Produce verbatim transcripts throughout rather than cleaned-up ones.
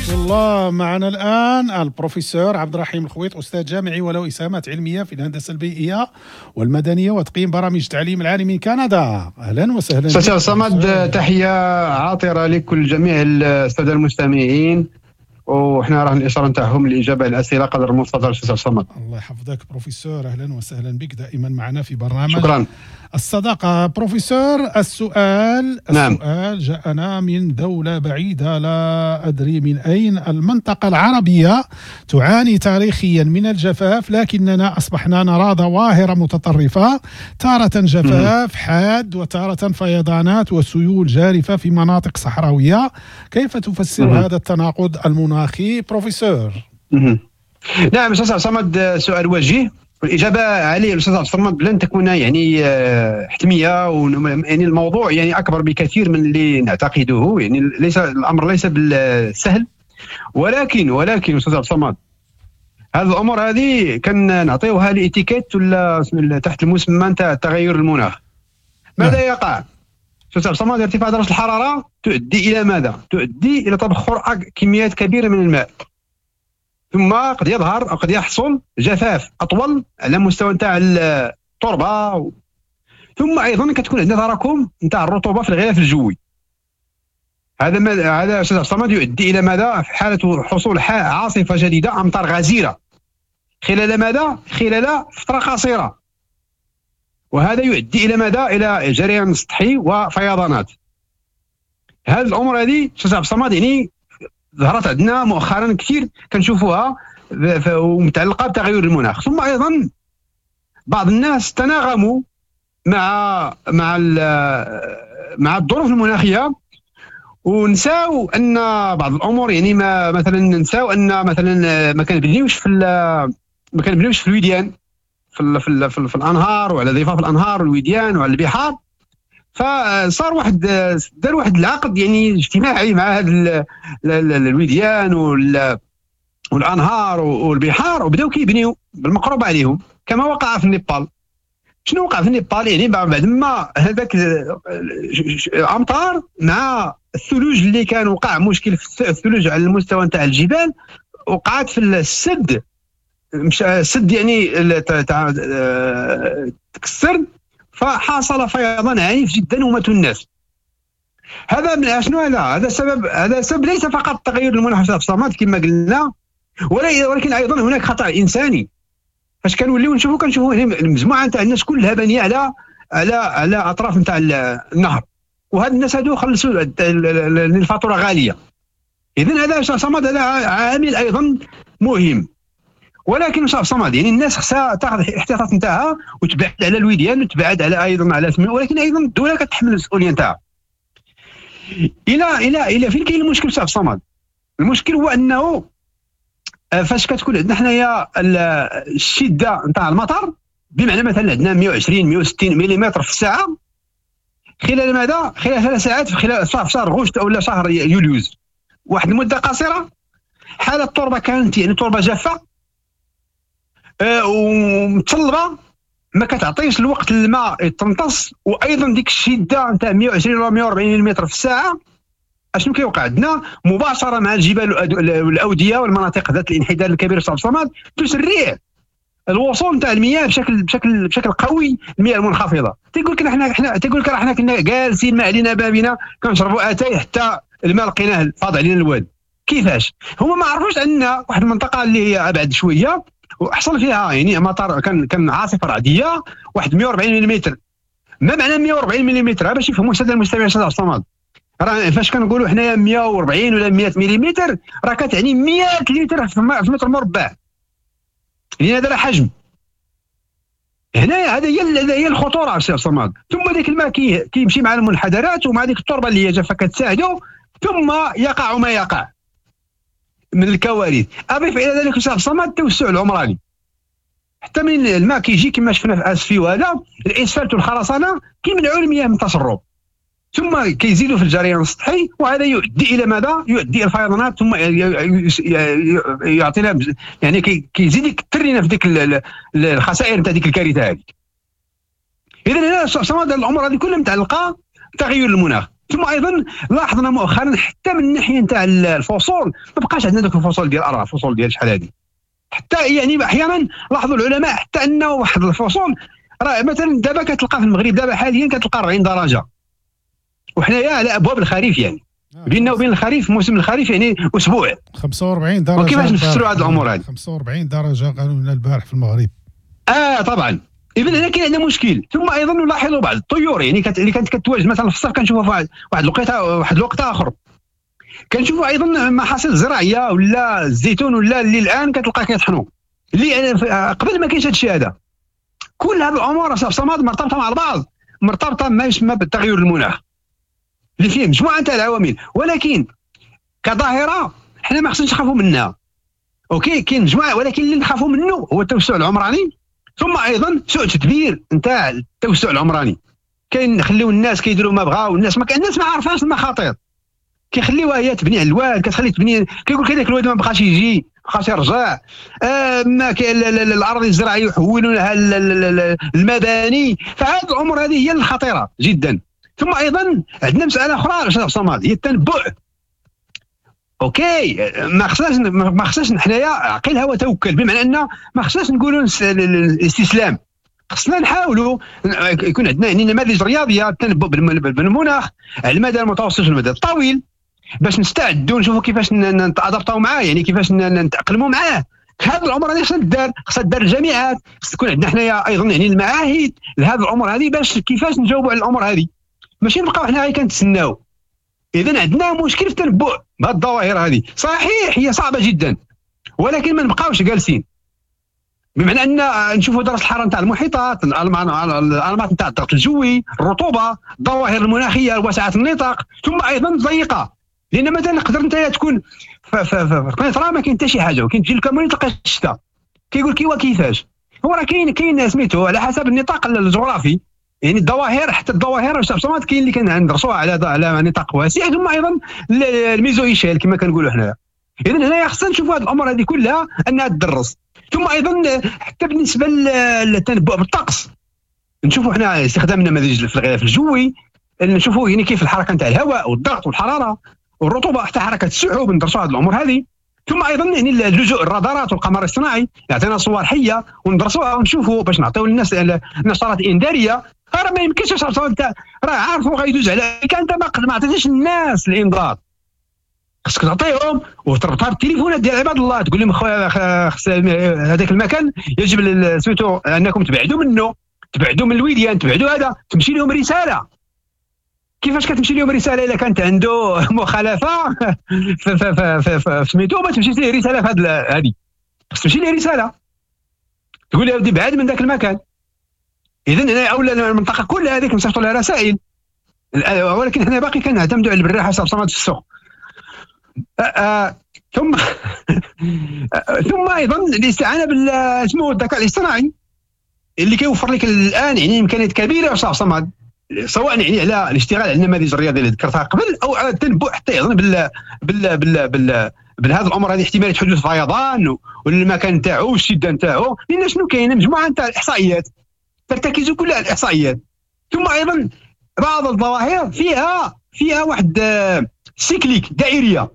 ورحمة الله. معنا الآن البروفيسور عبد الرحيم الخويط، أستاذ جامعي وله إسهامات علمية في الهندسة البيئية والمدنية وتقييم برامج التعليم العالي من كندا. أهلا وسهلا. أستاذ صمد، تحية عاطرة لكل جميع السادة المستمعين، وحنا راه الاشارة نتاعهم للاجابة على الاسئلة قدر المستطاع. استاذ صمد، الله يحفظك بروفيسور، اهلا وسهلا بك دائما معنا في برنامج شكرا الصداقة. بروفيسور، السؤال نعم. السؤال جاءنا من دولة بعيدة لا ادري من اين. المنطقة العربية تعاني تاريخيا من الجفاف، لكننا اصبحنا نرى ظواهر متطرفة، تارة جفاف حاد وتارة فيضانات وسيول جارفه في مناطق صحراويه. كيف تفسر مم. هذا التناقض المناخي بروفيسور؟ مهم. نعم استاذ صمد، سؤال وجيه والاجابة عليه الاستاذ عبد الصمد لن تكون يعني آه، حتمية، يعني الموضوع يعني اكبر بكثير من اللي نعتقده، يعني ليس الامر ليس بالسهل، ولكن ولكن استاذ عبد الصمد هذه الامور هذه كان نعطيوها l'étiquette ولا تحت المسمى نتاع تغير المناخ. ماذا نعم. يقع؟ استاذ عبد الصمد، ارتفاع درجه الحرارة تؤدي الى ماذا؟ تؤدي الى تبخر كميات كبيرة من الماء، ثم قد يظهر او قد يحصل جفاف اطول على مستوى نتاع التربة، ثم ايضا كتكون عندنا تراكم نتاع الرطوبة في الغلاف الجوي. هذا ما هذا استاذ عبد الصمد يؤدي الى ماذا؟ في حاله حصول عاصفة جديدة، امطار غزيرة خلال ماذا؟ خلال فترة قصيرة، وهذا يؤدي الى ماذا؟ الى جريان سطحي وفيضانات. هذه الامور هذه استاذ عبد الصمد يعني ظهرت عندنا مؤخرا كثير كنشوفوها ومتعلقه بتغير المناخ. ثم ايضا بعض الناس تناغموا مع مع مع الظروف المناخية ونساو ان بعض الامور، يعني ما مثلا نساو ان مثلا ما كنبنيوش في ما كنبنيوش في الوديان، في ال في, ال في, ال في الانهار وعلى ضفاف الانهار والوديان وعلى البحار. فصار واحد دار واحد العقد يعني اجتماعي مع هذا الوديان والانهار والبحار، وبداو كيبنيو بالمقروبه عليهم كما وقع في النيبال. شنو وقع في النيبال؟ يعني بعد ما هذاك الامطار مع الثلوج اللي كان وقع مشكل في الثلوج على المستوى نتاع الجبال، وقعت في السد، مش السد يعني تاع تكسر، فحصل فيضان عنيف جدا وماتوا الناس. هذا من شنو هذا؟ هذا سبب، هذا سبب ليس فقط تغير المناخ في الصمد كما قلنا، ولكن ايضا هناك خطا انساني. فاش كنوليو نشوفوا كنشوفوا المجموعة نتاع الناس كلها بانيه على على على اطراف نتاع النهر، وهاد الناس هادو خلصوا الفاتورة غالية. اذا هذا صمد هذا عامل ايضا مهم. ولكن صاحب صمد يعني الناس خصها تاخذ الاحتياطات نتاعها وتبعد على الوديان وتبعد على ايضا على سمي، ولكن ايضا الدولة كتحمل المسؤولية نتاعها. الى الى الى فين كاين المشكل صاحب صمد؟ المشكل هو انه فاش كتكون عندنا حنايا الشدة نتاع المطر، بمعنى مثلا عندنا مئة وعشرين مئة وستين ملم في الساعة خلال ماذا؟ خلال ثلاث ساعات في خلال شهر غشت او شهر يوليوز، واحد المدة قصيرة. حاله التربة كانت يعني تربه جافة ومتصلبه، ما كتعطيش الوقت للماء يتمتص، وايضا ديك الشدة نتاع مئة وعشرين ولا مئة وأربعين ملم في الساعة اشنو كيوقع عندنا؟ مباشرة مع الجبال والاوديه والمناطق ذات الانحدار الكبير في الصمد تسرع الوصول نتاع المياه بشكل بشكل بشكل قوي، المياه المنخفضة. تيقول لك حنا حنا تيقول لك راه حنا كنا جالسين ما علينا بابنا كنشربوا اتاي حتى الماء لقيناه فاض علينا الواد. كيفاش؟ هما ما عرفوش ان واحد المنطقة اللي هي ابعد شوية وحصل فيها يعني مطر، كان كان عاصفة رعديه واحد مئة وأربعين ملم. ما معنى مئة وأربعين ملم؟ باش يفهموا السادة المستمعين السادة الصمد، راه فاش كنقولوا حنايا مئة وأربعين ولا مئة ملم راه كتعني مئة لتر في متر مربع، لان هذا راه حجم. هنايا هذا هي هذا هي الخطورة السي الصمد. ثم ذاك الماء كيمشي مع المنحدرات ومع ديك التربة اللي هي جافة كتساعده، ثم يقع ما يقع من الكوارث. اضيف الى ذلك استاذ الصمد التوسع العمراني، حتى من الماء كيجي كما شفنا في اسفي وهذا الاسفلت والخرسانه كيمنعوا المياه من التسرب، ثم كيزيدوا في الجريان السطحي، وهذا يؤدي الى ماذا؟ يؤدي الى الفيضانات، ثم يعطينا يعني كيزيد يكثر لنا في ديك الخسائر نتاع ديك الكارثة هذيك. اذا هنا الامور هذه كلها متعلقه بتغير المناخ. ثم ايضا لاحظنا مؤخرا حتى من الناحية نتاع الفصول ما بقاش عندنا دوك الفصول ديال اربع فصول ديال شحال هذه. حتى يعني احيانا لاحظوا العلماء حتى انه واحد الفصول راه مثلا دابا كتلقى في المغرب دابا حاليا كتلقى أربعين درجه، وحنايا على ابواب الخريف، يعني بيننا وبين الخريف موسم الخريف يعني اسبوع. خمسة وأربعين درجه. وكيفاش نفسروا هذه الامور هذه؟ خمسة وأربعين درجه قالوا لنا البارح في المغرب. اه طبعا. اذا هنا كاين عندنا مشكل. ثم ايضا نلاحظ بعض الطيور يعني كانت اللي كانت كتواجد مثلا في الصيف كنشوفها في واحد الوقيته واحد الوقت اخر. كنشوفوا ايضا محاصيل زراعية ولا الزيتون ولا اللي الان كتلقى كيطحنوا، اللي قبل ما كاينش هذا الشيء هذا. كل هذه الامور صمد مرتبطة مع البعض، مرتبطة ما يسمى بالتغير المناخ اللي فيه مجموعة تاع العوامل، ولكن كظاهره حنا ما خصناش نخافوا منها. OK كاين مجموعة، ولكن اللي نخافوا منه هو التوسع العمراني، ثم ايضا سوء تدبير نتاع التوسع العمراني. كاين نخليو الناس كيديروا ما بغاو، الناس ما الناس ما عارفاش المخاطر، كيخليوها هي تبني على الواد، كتخلي تبني، كيقول لك هذاك الواد ما بقاش يجي، ما بقاش يرجع، آه ما الارض الزراعية يحولونها المباني. فهذه الامور هذه هي الخطيرة جدا. ثم ايضا عندنا مسالة اخرى استاذ صمد، هي التنبؤ. OK ما خصناش ما خصناش حنايا عقلها وتوكل، بمعنى ان ما خصناش نقولوا الاستسلام، خصنا نحاولوا يكون عندنا يعني نماذج رياضية التنبؤ بالمناخ على المدى المتوسط والمدى الطويل باش نستعدوا نشوفوا كيفاش نتادابطاو معاه، يعني كيفاش نتاقلموا معاه. هذا الامر هذه خصها تدار، خصها تدار الجامعات، خص تكون عندنا حنايا ايضا يعني المعاهد لهذه الامور هذه باش كيفاش نجاوبوا على الامور هذه، ماشي نبقاو حنا غير كنتسناو. اذا عندنا مشكل في التنبؤ بهذه الظواهر هذه، صحيح هي صعبة جدا، ولكن ما نبقاوش جالسين، بمعنى ان نشوفوا درجه الحرارة نتاع المحيطات، الانماط نتاع الضغط الجوي، الرطوبة، الظواهر المناخية واسعة النطاق، ثم ايضا الضيقه. لان مثلا نقدر انت تكون في القنيطره ما كاين حتى شي حاجة، وكاين تجي الكاموني تلقى الشتاء، كيقول كيوا كيفاش هو راه كاين كاين سميتو على حسب النطاق الجغرافي، يعني الظواهر حتى الظواهر الشمسات كاين اللي كندرسوها على على نطاق واسع، ثم ايضا ال méso-échelle كما كنقولوا حنايا. اذا هنايا خصنا نشوفوا هذه الامور هذه كلها انها تدرس. ثم ايضا حتى بالنسبة للتنبؤ بالطقس، نشوفوا حنا استخدام النماذج في الغلاف الجوي، نشوفوا يعني كيف الحركة نتاع الهواء والضغط والحرارة والرطوبة، حتى حركة السحب، ندرسوا هذه الامور هذه. ثم ايضا يعني اللجوء الرادارات والقمر الصناعي يعطينا صور حيه وندرسوها ونشوفوا باش نعطيو للناس النشرات الانذاريه. راه ما يمكنش انت راه عارفوا غيدوز عليك، انت ما عطيتيش الناس الانذار، خصك تعطيهم وتربطها بالتليفونات ديال عباد الله، تقول لهم خويا خص هذاك المكان يجب سميتو انكم تبعدوا منه، تبعدوا من الوديان، تبعدوا هذا، تمشي لهم رسالة. كيفاش كتمشي لهم رسالة الا كانت عنده مخالفة في سميتو؟ ما تمشيش ليه رسالة في هذه، خص تمشي ليه رسالة تقول له ودي بعد من ذاك المكان. اذا هنا اولا المنطقة كلها هذيك نصيفطوا لها رسائل، ولكن حنا باقي كنعتمدوا على البراحه صمد في السوق. آه ثم ثم ايضا الاستعانة بال اسمه الذكاء الاصطناعي اللي كيوفر لك الان يعني امكانيات كبيرة صاحب صمد، سواء يعني على الاشتغال على النماذج الرياضية اللي ذكرتها قبل، او على التنبؤ حتى ايضا بال بال بال بال بهذا الامر هذه، احتمالية حدوث فيضان والمكان تاعو والشدة نتاعو، لان شنو كاين مجموعة نتاع الاحصائيات ترتكز كلها على الاحصائيات. ثم ايضا بعض الظواهر فيها فيها واحد cyclique دائريه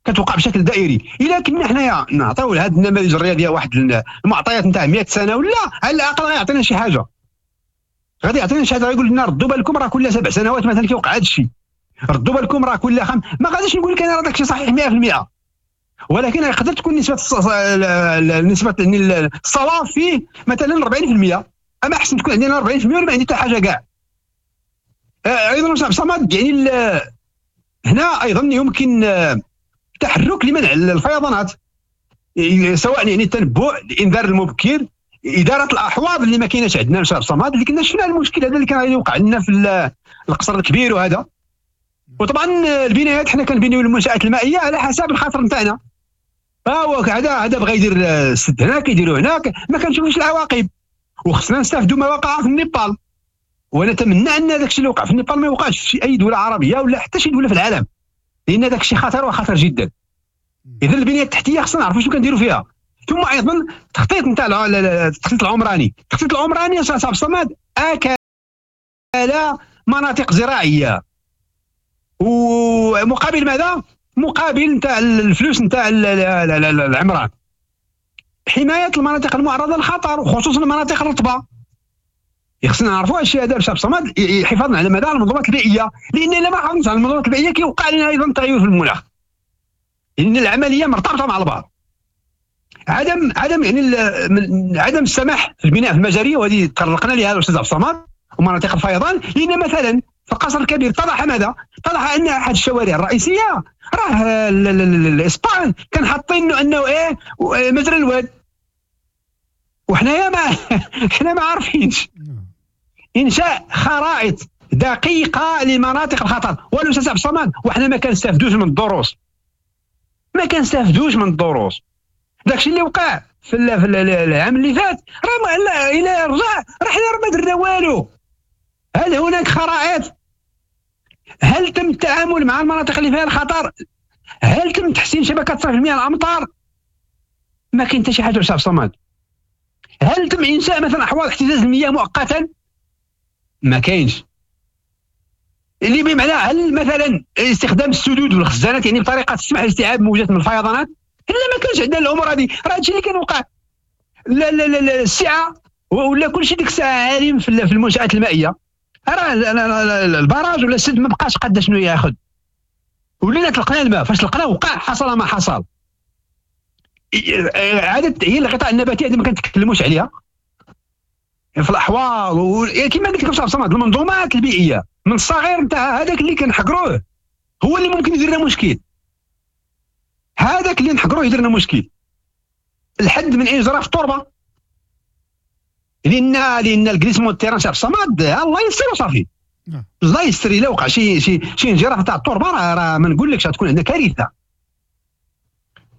كتوقع بشكل دائري. الا كنا حنايا نعطيو لهاد النماذج الرياضية واحد المعطيات نتاع مئة سنة ولا على الاقل غيعطينا شي حاجة، غادي يعطينا شي حاجة، غيقول لنا ردوا بالكم راه كل سبع سنوات مثلا كيوقع هذا الشيء، ردوا بالكم راه كل خمس. ما غاديش نقول لك انا راه داكشي صحيح مئة بالمئة، ولكن يقدر تكون نسبه نسبه يعني الصواب فيه مثلا أربعين بالمئة، اما احسن تكون عندنا أربعين بالمئة ولا ما عندي حتى حاجة كاع. ايضا صاحب صمد يعني هنا ايضا يمكن التحرك لمنع الفيضانات، سواء يعني التنبؤ، الانذار المبكر، ادارة الاحواض اللي ما كايناش عندنا صاحب صمد، اللي كنا شفنا المشكل هذا اللي كان يوقع لنا في القصر الكبير وهذا. وطبعا البنايات حنا كنبنيو المنشات المائية على حسب الخاطر نتاعنا، فهو هذا هذا بغى يدير السد هنا كيديروا هناك، ما كنشوفوش العواقب. وخصنا نستافدوا ما وقع في النيبال، ونتمنى ان داك الشيء اللي وقع في النيبال ما يوقعش في اي دولة عربية ولا حتى شي دولة في العالم، لان داك الشيء خطر وخطر جدا. اذا البنية التحتية خصنا نعرفوا شنو كنديروا فيها. ثم ايضا التخطيط نتاع التخطيط العمراني، التخطيط العمراني صاحب صمد اكل مناطق زراعية. ومقابل ماذا؟ مقابل نتاع الفلوس نتاع العمران. حماية المناطق المعرضه للخطر وخصوصا المناطق الرطبة. خصنا نعرفوا هادشي هذا باش صمد حفاظا على مدى المنظومات البيئية، لان الا ما حافظناش على المنظومات البيئية كيوقع لنا ايضا تغير في المناخ، لان العملية مرتبطة مع البعض. عدم عدم يعني عدم السماح في البناء في المجاري، وهذه تطرقنا لها الاستاذ عبد الصمد، ومناطق الفيضان، لان مثلا في القصر الكبير اتضح ماذا؟ اتضح ان احد الشوارع الرئيسية راه الاسبان كان حاطين انه ايه مجرى الواد، وحنايا ما حنا ما عارفينش. انشاء خرائط دقيقة لمناطق الخطر، والاستاذ عبد الصمد وحنا ما كنستافدوش من الدروس، ما كنستافدوش من الدروس. داكشي اللي وقع في العام اللي فات راه الى رجع راه حنا راه ما درنا والو. هل هناك خرائط؟ هل تم التعامل مع المناطق اللي فيها الخطر؟ هل تم تحسين شبكة صرف المياه الامطار؟ ما كاين حتى شي حاجة استاذ صمد. هل تم انشاء مثلا احواض احتجاز المياه مؤقتا؟ ما كاينش. اللي بمعنى هل مثلا استخدام السدود والخزانات يعني بطريقة تسمح لاستيعاب موجات من الفيضانات؟ لا، ما كانش عندنا الامور هذه. راه هادشي اللي كان وقع. لا لا لا السعة ولا كلشي ديك الساعة عالم في المنشات المائية، راه ال barrage ولا السد ما بقاش قد شنو ياخذ، ولينا طلقنا الماء، فاش طلقناه وقع حصل ما حصل. عادة تأهيل الغطاء النباتي هذه ما كنتكلموش عليها في الاحواض و... كما قلت لك صمد، المنظومات البيئية من الصغير نتاع هذاك اللي كنحقروه هو اللي ممكن يدير لنا مشكل، هذاك اللي نحقروه يدير لنا مشكل. الحد من انجراف التربة، لان لان ال glissement terrain شاف صمد الله يستر وصافي. الله يستر الا وقع شي شي شي انجراف تاع التربة راه راه ما نقولكش غتكون عندنا كارثة.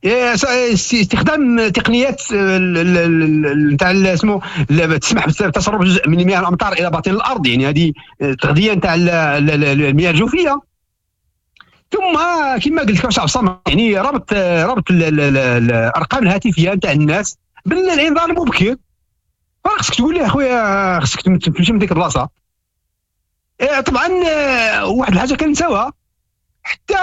استخدام تقنيات نتاع اسمه تسمح بتصرف جزء من مياه الامطار الى باطن الارض، يعني هذه تغذية نتاع المياه الجوفيه. ثم كما قلت لك صمد يعني ربط ربط الارقام الهاتفية نتاع الناس بالانذار المبكر. خصك تقول ليه اخويا خصك تمشي من ديك البلاصة. طبعا واحد الحاجة كنساوها، حتى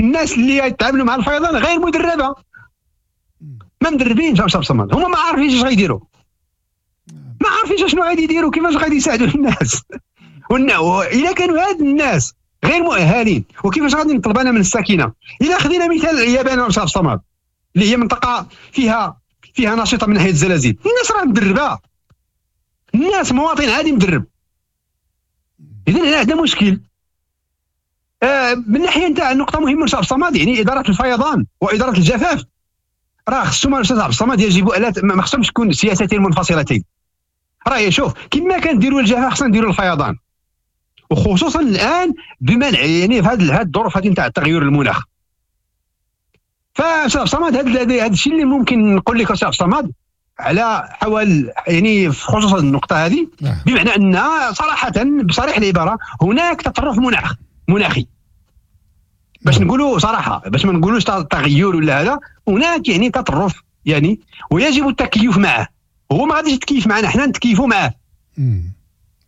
الناس اللي يتعاملوا مع الفيضان غير مدربه، ما مدربينش باش صمد، هما ما عارفينش اش غيديروا، ما عارفينش شنو غادي يديروا، كيفاش غادي يساعدوا الناس. الا كانوا هاد الناس غير مؤهلين وكيفاش غادي نطلب انا من الساكنة؟ الا خدينا مثال اليابان باش صمد اللي هي منطقة فيها فيها نشيطه من ناحية الزلازل، الناس راه مدربه، الناس مواطن عادي مدرب. اذا هنا عندنا مشكل. آه من ناحية نتاع نقطة مهمة استاذ الصمد، يعني ادارة الفيضان واداره الجفاف راه خصهم استاذ عبد الصمد يجب الا ما خصهمش تكون سياستين منفصلتين. راه شوف كما كنديروا الجفاف خصنا نديروا الفيضان، وخصوصا الان بمنع يعني في هذه الظروف هذه نتاع تغير المناخ. فاستاذ عبد الصمد هذا الشيء اللي ممكن نقول لك استاذ عبد الصمد على حوال يعني خصوصا النقطة هذه، بمعنى ان صراحة بصريح العبارة هناك تطرف مناخ مناخي، باش نقولوا صراحة، باش ما نقولوش تغير ولا هذا، هناك يعني تطرف يعني ويجب التكيف معه. هو ما غاديش يتكيف معنا، حنا نتكيفوا معه.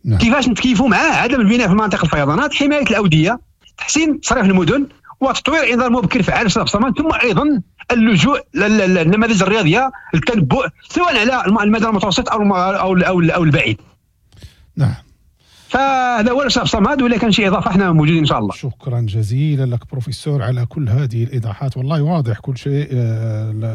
نعم. كيفاش نتكيفوا معه؟ عدم البناء في مناطق الفيضانات، حماية الاودية، تحسين تصريف المدن، وتطوير انذار مبكر فعال صمد، ثم ايضا اللجوء للنماذج الرياضية للتنبؤ سواء على المدى المتوسط او او او, أو البعيد. نعم. فهذا هو الاستاذ صمد، ولا كان شي اضافه احنا موجودين ان شاء الله. شكرا جزيلا لك بروفيسور على كل هذه الايضاحات، والله واضح كل شيء،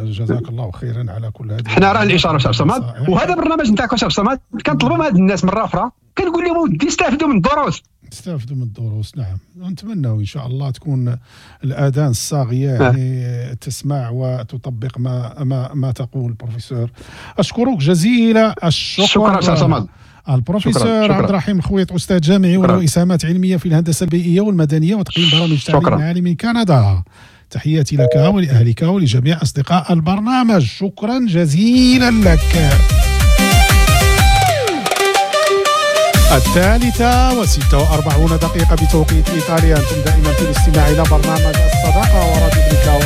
جزاك الله خيرا على كل هذه. حنا راه الاشارة استاذ صمد، وهذا برنامج نتاعك استاذ صمد كنطلبوا من هاد الناس مرة اخرى، كنقول لهم ودي استافدوا من الدروس، استافدوا من الدروس. نعم، ونتمنى ان شاء الله تكون الاذان الصاغيه يعني تسمع وتطبق ما ما ما تقول بروفيسور. اشكرك جزيل الشكر. شكرا استاذ صمد. البروفيسور عبد الرحيم الخويط، أستاذ جامعي وله إسهامات علمية في الهندسة البيئية والمدنية وتقييم برامج تعليم عالي من كندا. تحياتي لك ولأهلك ولجميع أصدقاء البرنامج، شكرا جزيلا لك. الثالثة وستة وأربعون دقيقة بتوقيت إيطاليا، أنتم دائما في الاستماع إلى برنامج الصداقة وراديو بريكاو.